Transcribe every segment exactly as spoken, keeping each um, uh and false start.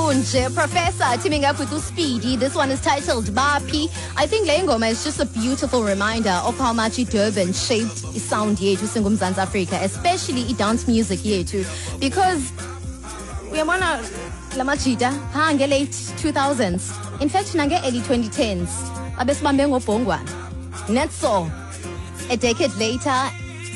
Kunje. Professor teaming up with Speedy. This one is titled Bapi. I think le ngoma is just a beautiful reminder of how much Durban shaped sound yethu singuMzantsi Africa, especially i-dance music yethu, because uyabona la majita phaa nge-late two thousands, in fact nange-early twenty tens, babesibambe ngobhongwana. Netso a decade later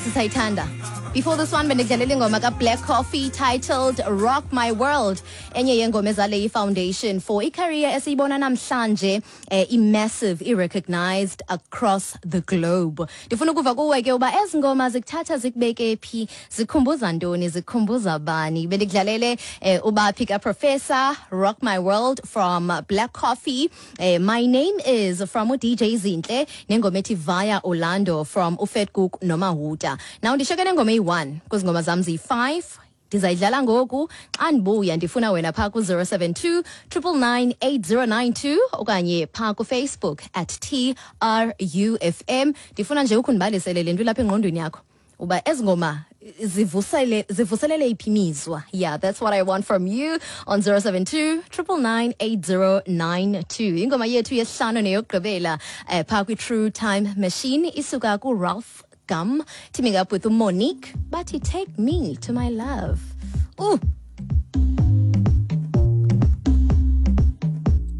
sisayithanda. Before this one bendidlalela ingoma kaBlack Coffee titled "Rock My World", enye yengoma ezale i-foundation for i-career esiyibona namhlanje, eh, i-massive, i-recognized across the globe. Ndifuna ukuva kuwe ke uba ezi ngoma zikuthatha zikubeke phi, zikhumbuza ntoni, zikhumbuza bani. Bendikudlalele eh, uBaphi kaProfessor, "Rock My World" from Black Coffee, eh, "My Name Is" from uD J Zinhle, nengoma ethi "Via Orlando" from uFetkoek noMahuta. Now ndishiyeke nengoma eyi-one kwezi ngoma zam ziyi-five. Ndizayidlala ngoku. Xa ndibuya ndifuna wena phaa ku-zero seven two nine nine nine eight zero nine two okanye phaa kuFacebook at T R U F M. Ndifuna nje ukundibalisele le nto ilapha engqondweni yakho, uba ezi ngoma zivusele zivuselele iphi imizwa. Yeah, that's what I want from you on zero seven two nine nine nine eight zero nine two. Ingoma yethu yesihlanu neyokugqibela eh, phaa kwi-True Time Machine isuka kuRalph Gum teaming up with Monique. Bathi "Take Me to My Love". Ooh.